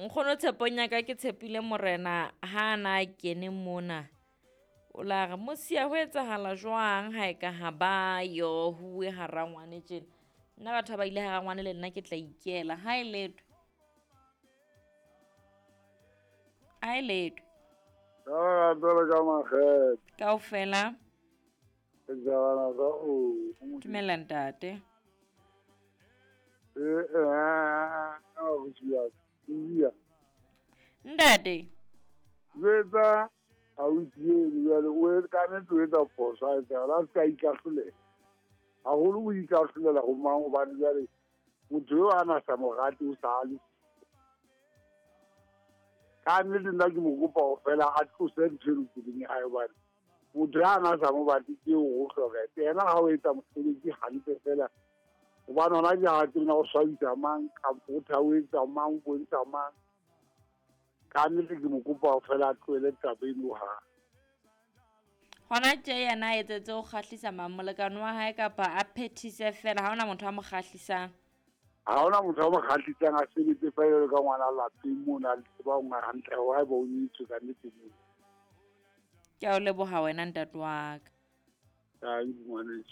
Nkgono tshepong ya ka ke tshepile morena ha a na a kene mona. O la re mosia ho etsahala jwang ha e ka ha ba yo huwe hara ngwane tjena. Nna batho ba ba ile hara ngwane le nna ke tla ikela. Ha e letho. Ha e letho. Ka jwalo ka makgethe. Kaofela. Ke jabana ka o. Dumela ntate. Ntate. Jwetsa ausi eno jwale o ka nnete o etsa phoso ha etsa la se ka ikahlolela. Haholo o ikahlolela ho mang hobane jwale motho eo a na sa mo rate o sa le. Ka nnete nna ke mo kopa ho fela a tlose ntho eno pelong ya hae hobane motho ya na sa mo batle ke eo o hloka. Yena ha o etsa mosebetsi hantle fela hobane hona ke ha tsena o swabisa mang kampo o thaoetsa mang o bontsha mang. Ka nnete ke mo kopa ho fela a tlohele taba eno ha. Hona tje yena a etsetse ho kgahlisa mang molekane wa hae kapa a phethise fela ha hona motho a mo kgahlisang. Ha hona motho a mo kgahlisang a sebetse fela jwalo ka ngwana lapeng mona a tseba ho hantle hore haeba o nyetswe ka nnete moo. Ke a o leboha wena ntate wa ka. Ai ngwaneso.